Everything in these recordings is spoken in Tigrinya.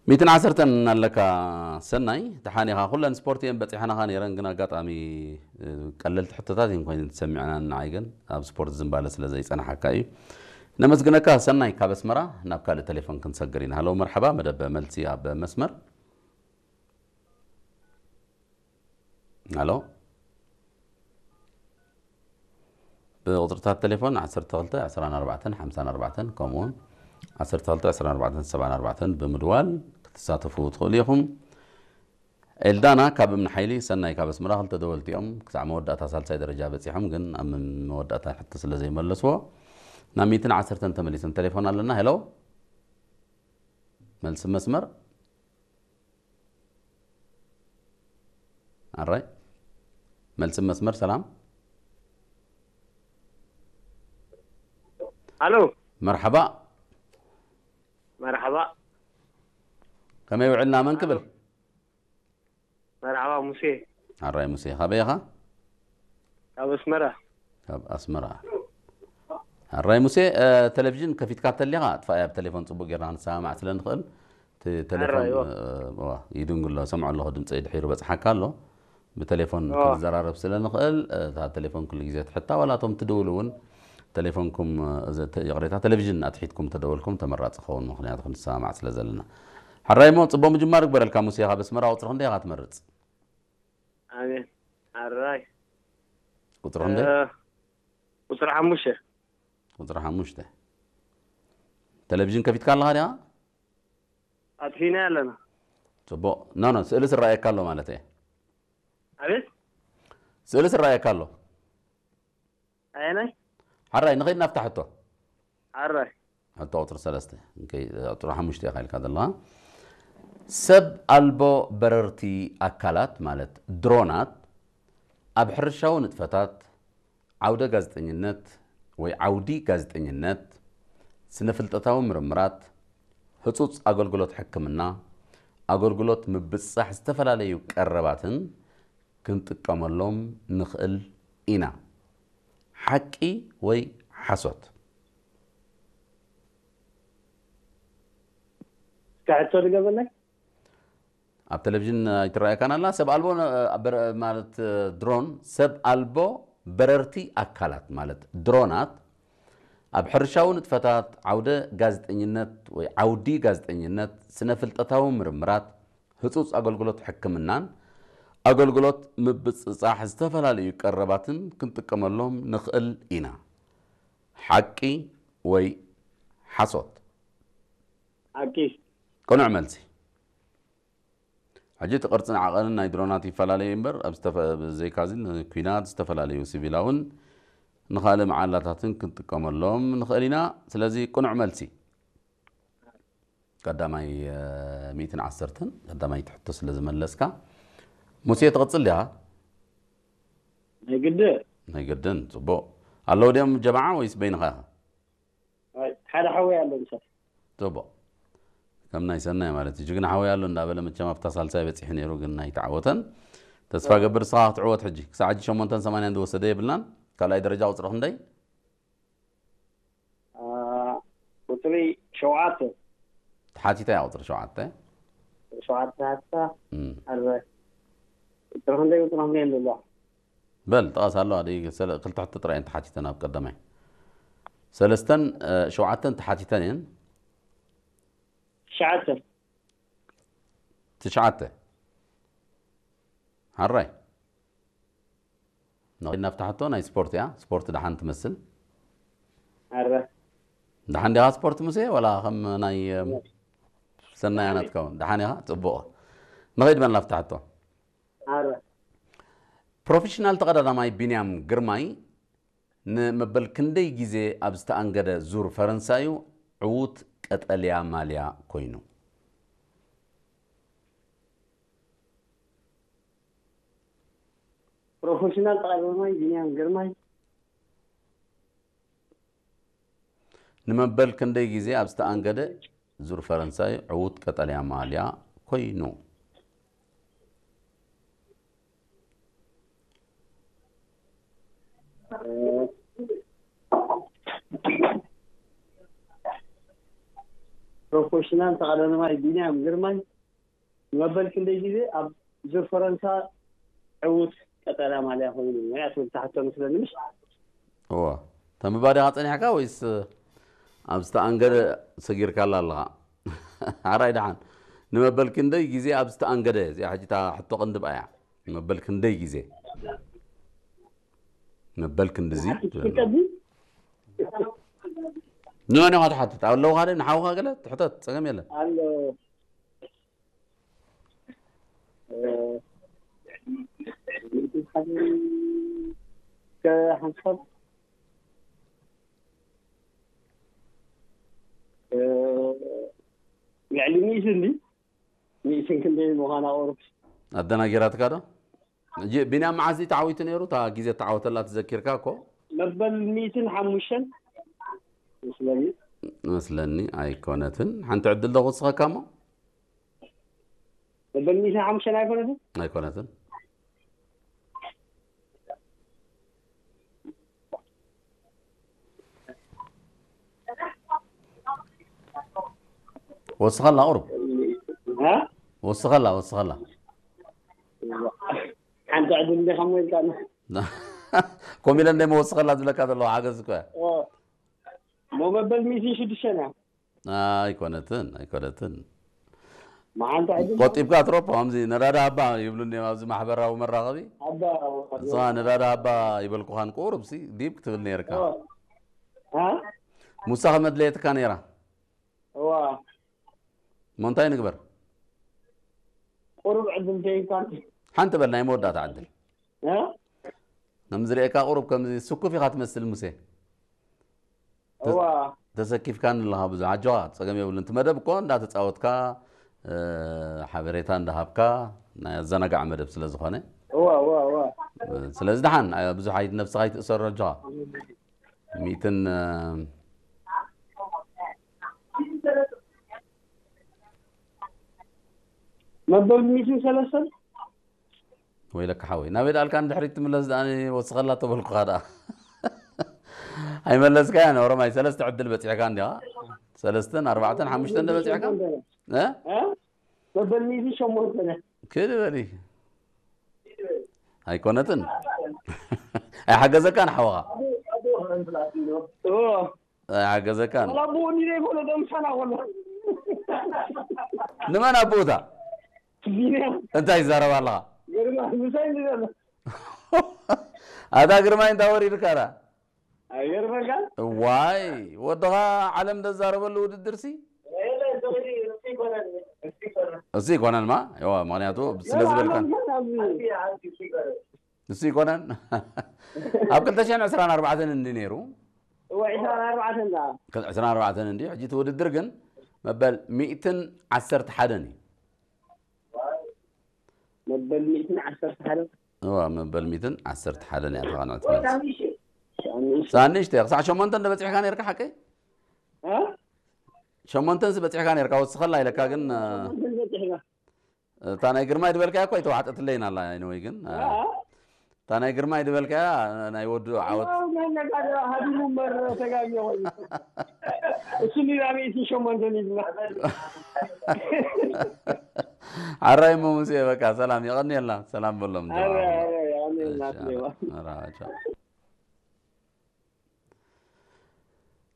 ሚእትን ዓሰርተን እናለካ ሰናይ፣ ደሓን ኢኻ? ኩለን ስፖርት እየን በጺሐናኻ ነይረን፣ ግን ኣጋጣሚ፣ እ፣ ቀለልቲ ሕቶታት እየን ኮይነን ተሰሚዐናን፣ ንዓይ ግን ኣብ ስፖርት ዝንባለ ስለ ዘይጸናሓካ እዩ። ነመስግነካ ሰናይ ካብ ኣስመራ። ናብ ካልእ ቴሌፎን ክንሰግር ኢና። ሃሎ፣ መርሓባ፣ መደብ መልሲ ኣብ መስመር። ሃሎ። ብቁጽርታት ቴሌፎን ዓሰርተ ክልተ ዕስራን ኣርባዕተን ሓምሳን ኣርባዕተን ከምኡውን ዓሰርተ ክልተ ዕስራን ኣርባዕተን ሰብዓን ኣርባዕተን ብምድዋል ክትሳተፉ ትኽእሉ ኢኹም። ኤልዳና ካብ እምኒ ሓይሊ፣ ሰናይ ካብ ኣስመራ፣ ክልተ ደወልቲ እዮም። ክሳዕ መወዳእታ ሳልሳይ ደረጃ በጺሖም፣ ግን ኣብ መወዳእታ ሕቶ ስለ ዘይመለስዎ፣ ናብ ሚእትን ዓሰርተን ተመሊሶም። ቴሌፎን ኣለና። ሄሎ፣ መልሲ መስመር። ኣራይ፣ መልሲ መስመር። ሰላም። ኣሎ። መርሓባ። መርሓባ። ከመይ ውዕልና? መን ክብል? መርሓባ፣ ሙሴ። ኣራይ፣ ሙሴ፣ ካበይ ኢኻ? ካብ ኣስመራ። ካብ ኣስመራ። ኣራይ፣ ሙሴ፣ እ፣ ቴሌቪዥን ከፊትካ ተሊኻ ኣጥፋእያ፣ ኣብ ቴሌፎን ጽቡቅ ጌርና ክንሰማማዕ ስለ ንኽእል። እቲ ቴሌፎን፣ ኣራይ፣ እዎ። እ፣ እዋ፣ ይድንጉ ኣሎ፣ ሰምዖ ኣለኹ፣ ድምፂ ድሒሩ በጽሓካ ኣሎ። ብቴሌፎን እዎ። ክንዘራረብ ስለ ንኽእል፣ እ፣ እታ ቴሌፎን ኩሉ ግዜ ትሕታ፣ ዋላ እቶም ትድውሉ እውን ቴሌፎንኩም፣ እ፣ ዘ-፣ ተ-፣ ይቕሬታ፣ ቴሌቪዥን ኣትሒትኩም ተደወልኩም ተመራጺ ክኸውን፣ ምኽንያቱ ክንሰማማዕ ስለ ዘለና። ሕራይ እሞ፣ ጽቡቕ ምጅማር ይግበረልካ። ሙሴ፣ ካብ ኣስመራ ቁጽሪ ክንደይ ኢኻ ትመርጽ? ኣሜን። ኣራይ። ቁጽሪ ክንደይ? እ፣ ቁጽሪ ሓሙሽተ። ቁጽሪ ሓሙሽተ። ቴሌቪዥን ከፊትካ ኣለኻ ዲኻ? ኣጥፊና ኣለና። ጽቡቕ። ኖ፣ ኖ፣ ስእሊ ዝረኣየካ ኣሎ ማለት እየ። ኣቤት? ስእሊ ዝረኣየካ ኣሎ። ኣየናይ? ሓራይ፣ ንኸይድ ናብታ ሕቶ። ኣራይ። ሕቶ ቁጽሪ ሰለስተ። እንከይ፣ ቁጽሪ ሓሙሽተ ኢኻ ኢልካ ዘለኻ። ሰብ ኣልቦ በረርቲ ኣካላት ማለት ድሮናት ኣብ ሕርሻዊ ንጥፈታት፣ ዓውደ ጋዜጠኝነት ወይ ዓውዲ ጋዜጠኝነት፣ ስነ-ፍልጠታዊ ምርምራት፣ ህጹጽ ኣገልግሎት ሕክምና፣ ኣገልግሎት ምብጽጻሕ ዝተፈላለዩ ቀረባትን ክንጥቀመሎም ንኽእል ኢና። ሓቂ ወይ ሓሶት? እስከ ሕቶ ድገመለይ። ኣብ ቴሌቪዥን ኣይትረኣየካን ኣላ? ሰብ ኣልቦ ነ-፣ በረ-፣ ማለት፣ ድሮን፣ ሰብ ኣልቦ በረርቲ ኣካላት ማለት ድሮናት ኣብ ሕርሻዊ ንጥፈታት፣ ዓውደ ጋዜጠኝነት ወይ ዓውዲ ጋዜጠኝነት፣ ስነ-ፍልጠታዊ ምርምራት፣ ህጹጽ ኣገልግሎት ሕክምናን ኣገልግሎት ምብጽጻሕ ዝተፈላለዩ ቀረባትን ክንጥቀመሎም ንኽእል ኢና። ሓቂ ወይ ሓሶት? ሓቂ። ቅኑዕ መልሲ። ሕጂ እቲ ቅርጽን ዓቐንን ናይ ድሮናት ይፈላለዩ እምበር፣ ኣብ ዝተፈ-፣ ብዘይካዚ ንኲናት፣ ዝተፈላለዩ ሲቪላውን ንኻልእ መዓላታትን ክንጥቀመሎም ንኽእል ኢና። ስለዚ ቅኑዕ መልሲ ቀዳማይ፣ እ፣ ሚእትን ዓሰርተን፣ ቀዳማይ ትሕቶ ስለ ዝመለስካ። ሙሴ፣ ትቕጽል ዲኻ? ናይ ግድን። ናይ ግድን። ጽቡቕ። ኣለዉ ድዮም ጀማዓ ወይስ በይንኻ ኢኻ? ኣይ፣ ሓደ ሓወይ ኣሎ ምሳይ። ጽቡቕ። ከም ናይ ሰናይ ማለት እዩ። ጅግና ሓወይ ኣሎ እንዳበለ መቸም ኣብታ ሳልሳይ በጺሑ ነይሩ፣ ግን ኣይተዓወተን። ተስፋ ገብር ንስኻ ክትዕወት ሕጂ። ክሳዕ ሕጂ ሸሞንተን ሰማንያን ዝወሰደ የብልናን። ካልኣይ ደረጃ ቁጽሪ ክንደይ? አ፣ ቁጽሪ ሸውዓተ። ተሓቲታ እያ ቁጽሪ ሸውዓተ። ሸውዓተ ሓታ። እም። ኣረ። ቁጽሪ ክንደይ ቁጽሪ ክንደይ ኣለዋ? በል፣ ጥቐስ ኣለዋ። ደይ-፣ ሰለ-፣ ክልተ ሕቶ ጥራይ እየን ተሓቲተን ኣብ ቀዳማይ። ሰለስተን፣ እ፣ ሸውዓተን ተሓቲተን እየን። ትሽዓተ። ትሽዓተ። ሓራይ። ንኸይድ ናብታ ሕቶ ናይ ስፖርት እያ። ስፖርት ደሓን ትመስል። ኣረ። ደሓን ዲኻ ስፖርት ሙሴ? ወላ ከም ናይ፣ እም፣ ሰናይ ኣና ትከውን። ደሓን ኢኻ? ጽቡቕ። ንኸይድ በል ናብታ ሕቶ። ኣረ። ፕሮፌሽናል ተቐዳዳማይ ቢንያም ግርማይ ንመበል ክንደይ ግዜ ኣብ ዝተኣንገደ ዙር ፈረንሳዩ ዕዉት ቀጠልያ ማልያ ኮይኑ? ፕሮፌሽናል ተቐዳዳማይ ቢንያም ግርማይ። ንመበል ክንደይ ግዜ ኣብ ዝተኣንገደ ዙር ፈረንሳይ ዕዉት ቀጠልያ ማልያ ኮይኑ? ፕሮፌሽናል ተቓዳዳማይ ቢንያም ግርማይ ንመበል ክንደይ ግዜ ኣብ ዙር ፈረንሳ ዕዉት ቀጠልያ ማልያ ኮይኑ? እያ ትብል እታ ሕቶ መስለኒ፣ ምሽ? እዋ፣ ተንብባ ዲኻ ጸኒሕካ ወይስ ኣብ ዝተኣንገደ ሰጊርካላ ኣለኻ? ሓራይ ደሓን። ንመበል ክንደይ ግዜ ኣብ ዝተኣንገደ? እዚኣ ሕጂ እታ ሕቶ ቅንድብ እያ። ንመበል ክንደይ ግዜ? መበል ክንድዚ ትብል። ትቀዲ? ንመን ኢኻ ትሓትት? ኣለውኻ ዶ ንሓውኻ ገለ ትሕተት፣ ጸገም የለን። ኣሎ። እ፣ ከ ሓንሳብ፣ እ፣ ልዕሊ ሚእቲ እንዲ? ሚእትን ክንደይ ምዃና ቁሩብ። ኣደናጊራትካ ዶ? ጂ-፣ ቢንያም መዓዝ እዩ ተዓዊቱ ነይሩ? እታ ግዜ ተዓወተላ ትዘኪርካ እኮ? መበል ሚእትን ሓሙሽተን መስለኒ። መስለኒ ኣይኮነትን። ሓንቲ ዕድል ዶ ክውስኸካ እሞ? መበል ሚእትን ሓሙሽተን ኣይኮነትን? ኣይኮነትን። ወስኸላ ቁሩብ። እ? ወስኸላ፣ ወስኸላ። ሓንቲ ዕድል እንዲኻ እሞ ኢልካኒ። ከምኡ ኢለ እንደ መወስኸላ ዝብለካ ዘለኹ ሓገዝ እኮ እያ። ኦ። እሞ መበል ሚእትን ሽዱሽተን እያ። ኣይኮነትን፣ ኣይኮነትን። መዓልቲ ዕድል ቆጢብካ ትረፖ፣ ከምዚ ነዳዳ ኣባ ይብሉኒ እዮም ኣብዚ ማሕበራዊ መራኸቢ። ኣባ፣ እዛ ነዳዳ ኣባ ይበልኩኻን ቁሩብሲ ዲብ ክትብል ነይርካ። ኦ። እ? ሙሳ ከመድለየትካ ነይራ። እዋ። እሞ እንታይ ንግበር? ቁሩብ ዕድል ተይብካን። ሓንቲ በል ናይ መወዳእታ ዕድል። እ? ከም ዝርእየካ ቁሩብ ከምዚ ስኩፍ ኢኻ ትመስል ሙሴ። ተ-፣ እዋ። ተሰኪፍካን ኣለኻ ብዙሕ። ኣጆኻ፣ ጸገም የብሉን። እቲ መደብ እኮ እንዳተጻወትካ፣ እ፣ ሓበሬታ እንዳሃብካ ናይ ኣዘናጋዕ መደብ ስለ ዝኾነ። እዋ፣ እዋ፣ እዋ። ስለዚ ደሓን፣ ኣይ፣ ብዙሕ ኣይ-፣ ነብስኻ ኣይትእሰር ኣጆኻ። ሚእትን፣ እ፣ መበል ሚእትን ሰለስተን? ወይለካ ሓወይ፣ ናበይ ደኣልካ ንድሕሪት ትምለስ ደኣ ወስኸላ ተበልኩኻ ደኣ። ኣይመለስካያን፣ ኦሮማይ፣ ሰለስተ ዕድል በጺሕካ እንዲኻ። ሰለስተን፣ ኣርባዕተን፣ ሓሙሽተን ዶ በጺሕካ? እ? እ? መበል ሚእትን ሸሞንተን። ክድ በሊ። ኣይኮነትን። ኣይሓገዘካን ሓወኻ። ኦ። ኣይሓገዘካን። ወላ ብኡ እንዲነ ይኮነ ደምሳና ኮሎ። ንመን ኣቦታ? ቢንያም። እንታይ ይዛረብ ኣለኻ? ግርማ፣ ምሳይ እንዲ ዘሎ። ኣታ ግርማይ እንታይ ወሪድካ ዳ? ኣይገርመካን? ዋይ፣ ወድኻ ዓለም ዘዛረበሉ ውድድር ሲ? እሱ ይኮነን ማ? እዋ፣ ምኽንያቱ ስለ ዝበልካን። እሱ ይኮነን። ኣብ ክልተ ሽሕን ዕስራን ኣርባዕተን እንዲ ነይሩ። እዋ፣ ዕስራን ኣርባዕተን ደኣ። ዕስራን ኣርባዕተን እንዲ፣ ሕጂ እቲ ውድድር ግን መበል ሚእትን ዓሰርተ ሓደን እዩ። መበል ሚእትን ዓሰርተ ሓደን። እዋ፣ መበል ሚእትን ዓሰርተ ሓደን እያ ተቓንዕቲ መልሲ። ሳንሽተ። ሳንሽተ፣ ክሳዕ ሸሞንተ እንደ በጺሕካ ነይርካ ሓቀይ? እ? ሸሞንተን ዝበጺሕካ ነይርካ፣ ወስኸላ ኢለካ ግን፣ እ፣ ሸሞንተን ዝበጺሕካ። እታ ናይ ግርማይ ዝበልካያ እኮ ኣይተዋሕጠትለይን ኣላ፣ anyway ግን፣ እ፣ እ? እታ ናይ ግርማይ ዝበልካያ ናይ ወዱ ዓወት። ዋው፣ ናይ ነጋዶ ሃዲሙ እምበር ተጋግዮ ኮይኑ። እሱ ሊላ ሚእቲ ሸሞንተ ሊላ። ሓራይ እሞ ሙሴ፣ በቃ ሰላም፣ የቐንየልና። ሰላም በሎም። ኣረ፣ ኣረ፣ የቐንየልና፣ እሺ፣ ኣረ፣ ኣረ፣ ቻው።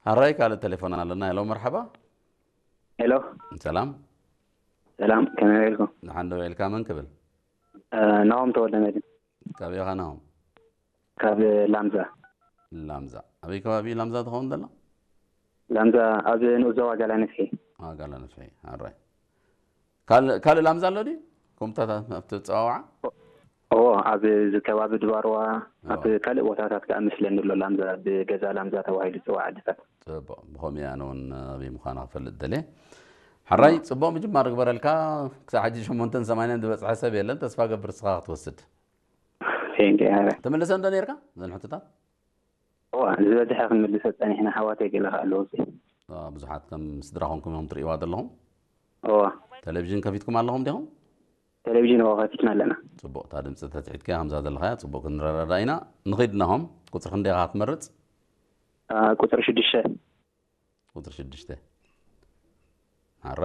ሓራይ ካልእ ቴሌፎን ኣለና። ሄሎ፣ መርሓባ። ሄሎ። ሰላም። ሰላም፣ ከመይ ውዒልኩም? ደሓን ዶ ውዒልካ? መን ክብል? እ፣ ናሆም ተወልደ መድህን። ካብ ኢኻ ናሆም? ካብ ላምዛ። ላምዛ። ኣበይ ከባቢ ላምዛ ትኸውን ዘላ? ላምዛ ኣብ ንኡስ ዞባ ጋላ ነፍሒ። አ፣ ጋላ ነፍሒ። ኣራይ። ካል-፣ ካልእ ላምዛ ኣሎ ድዩ? ከምኡታት ኣብቲ ጸዋውዓ? ኦ፣ ኣብ እዚ ከባቢ ድባርዋ፣ ኣብ እዋ። ካልእ ቦታታት ከኣ መስለኒ ኣሎ ላምዛ፣ ብገዛ ላምዛ ተባሂሉ ዝጽዋዕ ዓድታት። ጽቡቕ። ብኸምኡ እየ ኣነ እውን ኣበይ ምዃና ክፈልጥ ደልየ። ሓራይ፣ እዋ። ጽቡቕ ምጅማር ግበረልካ። ክሳብ ሕጂ ሸሞንተን ሰማንያን ዝበጽሐ ሰብ የለን። ተስፋ ገብር ንስኻ ክትወስድ። ቴንክ ዩ፣ ሃረ። ተመልሰ እንዶ ነይርካ እዘን ሕቶታት? እዋ፣ ዝበዝሐ ክንምልሶ ጸኒሕና፣ ኣሕዋተይ ገለ ከኣ ኣለዉ። አ፣ ብዙሓት ከም ስድራ ኮንኩም ኢኹም ትርእይዋ ዘለኹም? እዋ። ቴሌቪዥን ከፊትኩም ኣለኹም ዲኹም? ቴሌቪዥን እዋ ከፊትና ኣለና። ጽቡቕ፣ እታ ድምጺ ተትሒትካያ ከምዛ ዘለኻያ ጽቡቕ ክንረዳዳእ ኢና። ንኺድ ናሆም፣ ቁጽሪ ክንደይ ኢኻ ትመርጽ? አ፣ ቁጽሪ ሽዱሽተ። ቁጽሪ ሽዱሽተ። ኣረ